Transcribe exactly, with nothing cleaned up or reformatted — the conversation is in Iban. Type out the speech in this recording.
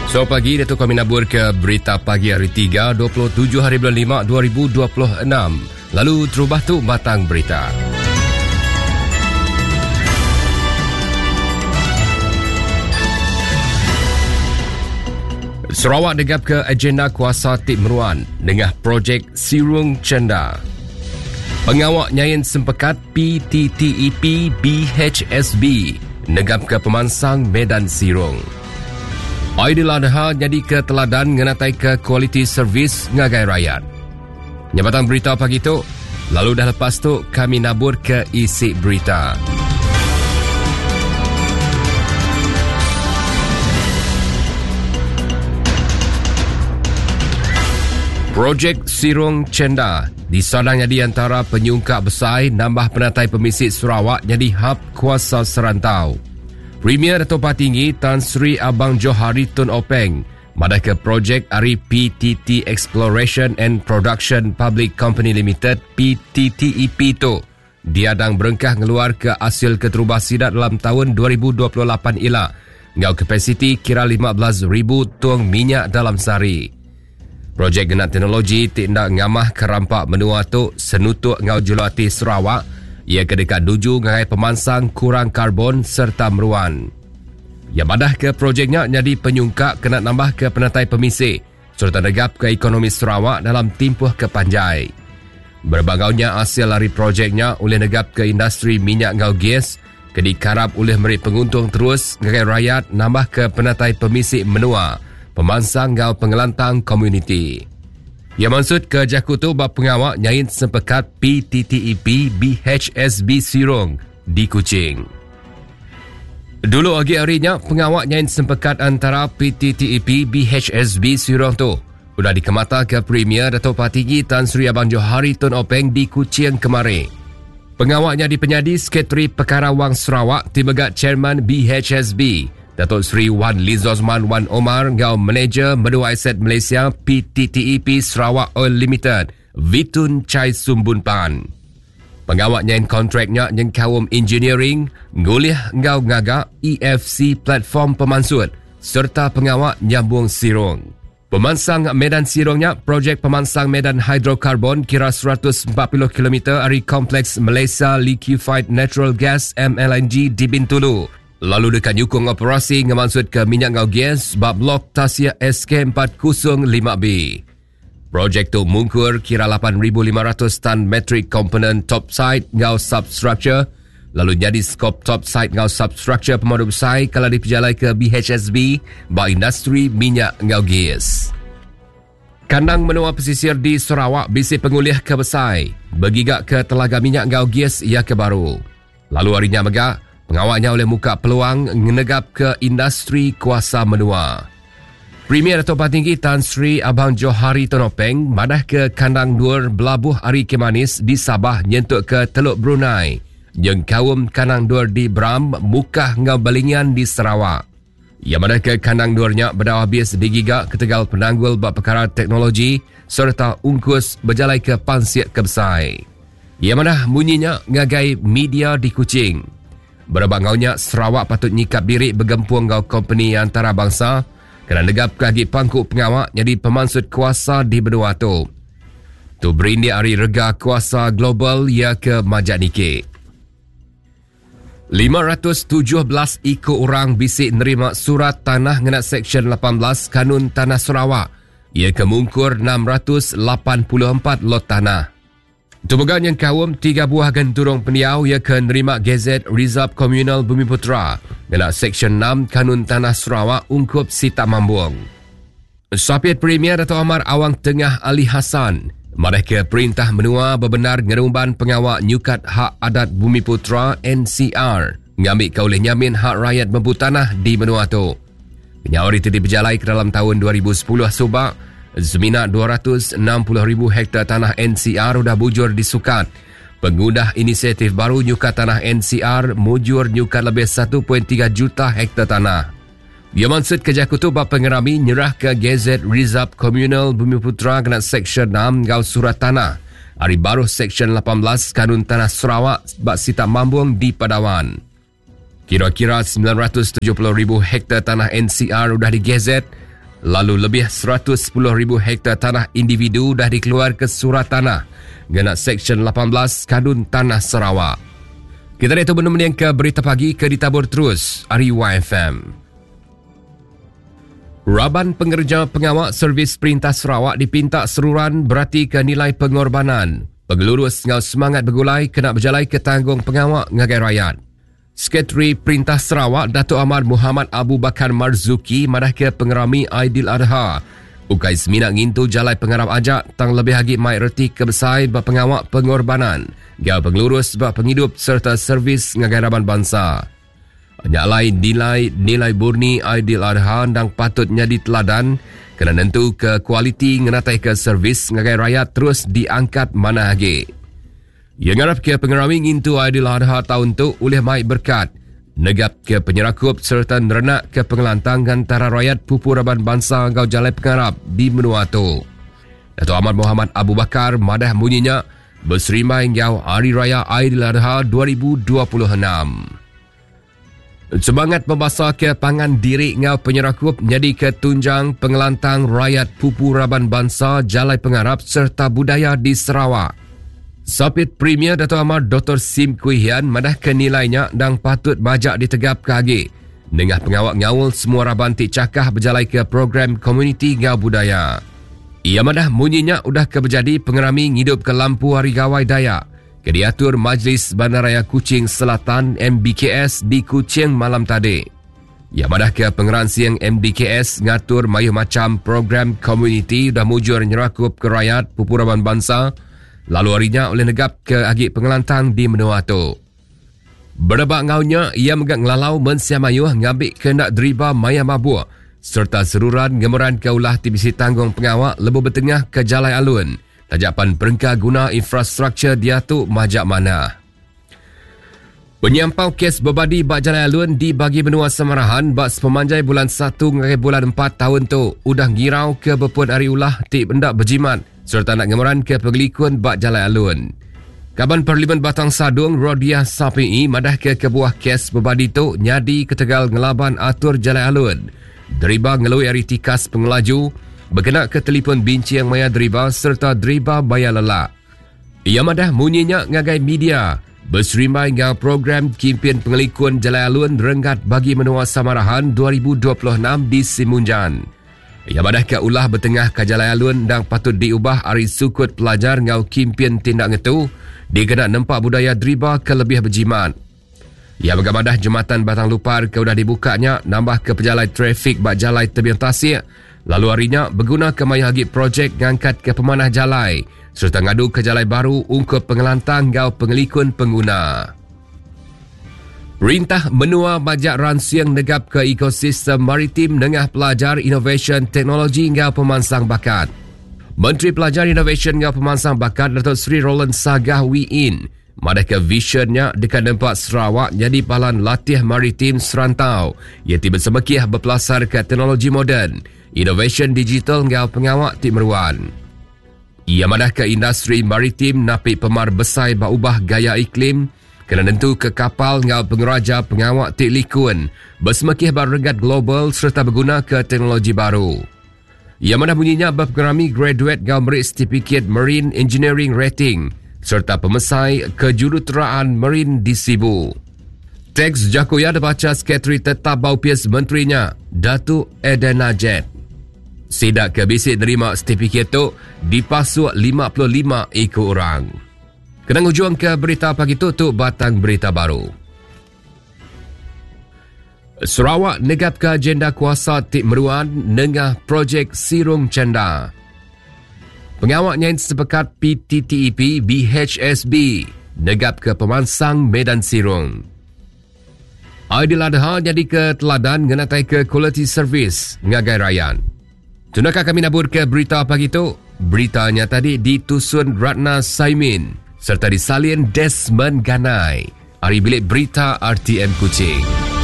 So pagi Datuk kami nabur ke berita pagi hari tiga dua puluh tujuh hari bulan lima dua ribu dua puluh enam. Lalu terubah tu batang berita. Sarawak degap ke agenda kuasa tip meruan dengan projek Sirung Cenda. Pengawak nyain sempekat P T T E P B H S B negap ke pemansang Medan Sirung. Aidil Adha jadi ke teladan ngenatai ke kualiti servis ngagai rakyat. Nyabatan berita pagi tu, lalu dah lepas tu kami nabur ke isi berita. Projek Sirung Cenda disadang jadi antara penyungkak besar nambah penatai pemisik Sarawak jadi hub kuasa serantau. Premier Dato' Patinggi Tan Sri Abang Johari Tun Openg madah ke projek ari P T T Exploration and Production Public Company Limited P T T E P tu diadang berengkah ngeluar ke hasil keterubah sidat dalam tahun dua ribu dua puluh lapan ila ngau kapasiti kira lima belas ribu tong minyak dalam sehari. Projek genap teknologi tindak ngamah kerampak menua tu senutuk ngau julati Sarawak ia kedekat duju ngai pemansang kurang karbon serta meruan. Ia madah ke projeknya jadi penyungkak kena nambah ke penatai pemisik serta negap ke ekonomi Sarawak dalam tempoh kepanjai. Berbagaunya hasil lari projeknya oleh negap ke industri minyak ngau gas ke dikarap oleh meri penguntung terus ngagai rakyat nambah ke penatai pemisik menua pemansang ngau pengelantang komuniti. Ia maksud ke jaku tu bab pengawak nyain sempekat P T T E P B H S B Sirung di Kuching. Dulu lagi harinya pengawak nyain sempekat antara P T T E P B H S B Sirung tu sudah dikemata ke Premier Dato' Patinggi Tan Sri Abang Johari Tun Openg di Kuching kemarin. Pengawaknya dipenyadi Sekretari Perkara Wang Sarawak timegat Chairman B H S B Datuk Seri Wan Lizozman Wan Omar ngau Manager Menua Aset Malaysia P T T E P Sarawak Oil Limited Vitun Chai Sumbun Pan. Pengawak nyain kontraknya nyengkaum engineering, ngulih ngau ngagak E F C platform pemansut serta pengawak nyambung sirung. Pemansang Medan Sirungnya projek pemansang Medan Hidrokarbon kira seratus empat puluh kilometer dari Kompleks Malaysia Liquefied Natural Gas M L N G di Bintulu. Lalu dekat nyukung operasi ngemaksud ke minyak ngau gas bab blok Tasia S K empat kosong lima B. Projek tu mungkur kira lapan ribu lima ratus tan metrik komponen topside ngau substructure lalu jadi skop topside ngau substructure pemandu besar kalau diperjalai ke B H S B bab industri minyak ngau gas. Kandang menua pesisir di Sarawak bisi pengulih ke besai bergigak ke telaga minyak ngau gas ia ke baru. Lalu harinya megak pengawaknya oleh muka peluang ngenegap ke industri kuasa menua. Premier Dato' Patinggi Tan Sri Abang Johari Tun Openg madah ke kandang duar belabuh Ari Kemanis di Sabah nyentuk ke Teluk Brunei. Yang kaum kandang duar di Bram, Mukah ngau Balingian di Sarawak. Yang madah ke kandang duarnya berdawah habis digigak ketegal penanggul bab perkara teknologi serta ungkus berjalai ke Pansiak Kebsai. Yang madah bunyinya ngagai media di Kuching. Berbangaunya Sarawak patut nyikap diri bergempung ngau company antarabangsa kena negap kaki pangkuk pengawak jadi pemansut kuasa di benua tu. Tu berindik hari rega kuasa global ia ke Majak Nike. lima ratus tujuh belas ikut orang bisik nerima surat tanah ngena Seksyen lapan belas Kanun Tanah Sarawak. Ia kemungkur enam ratus lapan puluh empat lot tanah. Tubuhan yang kaum tiga buah genturung pendiau ia ke nerima Gazet Reserve Communal Bumi Putra ngena Seksyen enam Kanun Tanah Sarawak ungkup Sita Mambung. Sapiat Premier Dato' Amar Awang Tengah Ali Hassan madah ke perintah menua berbenar ngerumban pengawak nyukat hak adat Bumi Putra N C R ngambil kau oleh nyamin hak rakyat mempu tanah di menua tu. Penyawar itu diberjalai ke dalam tahun dua ribu sepuluh subak semina dua ratus enam puluh ribu hektar tanah N C R sudah bujur disukat. Pengudah inisiatif baru nyukat tanah N C R mujur nyukat lebih satu perpuluhan tiga juta hektar tanah. Ia maksud kerja kutub bab pengerami nyerah ke Gazet Reserve Communal Bumi Putra kena Seksyen enam gau surat tanah. Hari baru Seksyen lapan belas Kanun Tanah Sarawak bak Sita Mambung di Padawan. Kira-kira sembilan ratus tujuh puluh ribu hektar tanah N C R sudah digazet Lalu lebih seratus sepuluh ribu hektar tanah individu dah dikeluar ke surat tanah ngena Seksyen lapan belas Kanun Tanah Sarawak. Kita dah itu benar ke berita pagi ke ditabur terus ari Y F M. Raban pengerja pengawal servis Perintah Sarawak dipinta seruran berarti ke nilai pengorbanan. Pengelurus ngau semangat bergulai kena berjalai ke tanggung pengawal ngagai rakyat. Sekretari Perintah Sarawak Datuk Amar Muhammad Abu Bakar Marzuki madah ke pengerami Aidil Adha. Ukai semina ngintu jalai pengarap ajak tang lebih agi mai reti kebesai ba pengawak pengorbanan, gau pengelurus ba penghidup serta servis ngagai raban bangsa. Nyalai nilai nilai murni Aidil Adha ndang patut nyadi teladan kena nentu ke kualiti ngenatai ke servis ngagai rakyat terus diangkat mana agi. Ia ngarap ke pengerami ngintu Aidil Adha tahun tu oleh mai berkat, negap ke penyerakup serta nerenak ke pengelantang antara rakyat pupu raban bangsa ngau jalai pengarap di menua tu. Datuk Ahmad Muhammad Abu Bakar madah bunyinya berserimai ngau Hari Raya Aidil Adha dua ribu dua puluh enam. Semangat membasah ke pangan diri ngau penyerakup jadi ke tunjang pengelantang rakyat pupu raban bangsa jalai pengarap serta budaya di Sarawak. Sapit Premier Datuk Amar Doktor Sim Kui Hian madah ke nilainya dang patut bajak ditegap ke agi. Nengah pengawak ngaul semua raban ti cakah berjalai ke program komuniti ngau budaya. Ia madah munyinya udah ke berjadi pengerami ngidup ke lampu Hari Gawai Dayak. Ke diatur Majlis Bandaraya Kuching Selatan M B K S di Kuching malam tadi. Ia madah ke pengeransiang M B K S ngatur mayuh macam program komuniti dah mujur nyerakup ke rakyat pupu raban bangsa. Lalu harinya oleh negap ke agi pengelantang di menua tu. Berebak ngaunya, ia megak ngelalau mensia mayuh ngambil kendak deriba maya mabuk serta seruran ngemeran ke ulah T B C tanggung pengawak lebuh bertengah ke Jalai Alun. Tajapan perengka guna infrastruktur dia tu majak mana. Penyampau kes berbadi bak Jalai Alun di bagi benua Samarahan bak sepemanjai bulan satu ngagai bulan empat tahun tu udah ngirau ke bepun hari ulah ti bendak berjimat serta nak ngemeran ke pengelikun bak Jalai Alun. Kaban Parlimen Batang Sadung Rodiah Sapi'i madah ke kebuah kes berbadi tu nyadi ketegal ngelaban atur Jalai Alun. Deriba ngelui ari tikas pengelaju, berkena ke telefon bincang maya deriba serta deriba bayar lelak. Ia madah munyinya ngagai media berserimbai dengan program Kempen Pengelikun Jalai Alun Renggat bagi Menua Samarahan dua ribu dua puluh enam di Simunjan. Ia madah ke ulah bertengah ke Jalai Alun dan patut diubah ari sukut pelajar ngau kempen tindak ngetu dikena nempak budaya deriba ke lebih berjimat. Ia bergamadah jembatan Batang Lupar ke udah dibukanya nambah ke pejalai trafik bak jalai tebing tasik. Lalu harinya berguna ke maya agi projek ngangkat ke pemanah jalai serta ngadu ke jalai baru ungkup pengelantang ngau pengelikun pengguna. Perintah menua bajak ransiang negap ke ekosistem maritim nengah pelajar inovasi teknologi ngau pemansang bakat. Menteri Pelajar Inovasi ngau Pemansang Bakat Datuk Seri Roland Sagah Wee Inn madah ke visionnya dekat nempak Sarawak jadi palan latih maritim serantau ia tiba semekih berpelasar ke teknologi moden, inovasi digital ngau pengawak ti meruan. Ia madah ke industri maritim napi pemar besai berubah gaya iklim kena nentu ke kapal ngau pengeraja pengawak ti likun bersemekih berregat global serta berguna ke teknologi baru. Ia madah bunyinya berpengerami graduate ngau merik sertifikat Marine Engineering Rating serta pemesai kejuruteraan Marine di Sibu. Teks Jakoya dibaca Sekretari Tetap Bau Pias Menterinya, Datuk Edena Jet. Sidak ke bisik nerima sertifikat tu dipasuk lima puluh lima ekor orang. Kena ngujuang ke berita pagi tu, tu batang berita baru. Sarawak negap ke agenda kuasa tik meruan nengah projek Sirung Cenda. Pengawaknya sepekat P T T E P B H S B negap ke pemansang Medan Sirung. Aidil Adha jadi ke teladan ngenatai ke quality service ngagai rayan. Tunakah kami nabur ke berita pagi tu? Beritanya tadi ditusun Ratna Saimin serta disalin Desmond Ganai. Ari bilik berita R T M Kuching.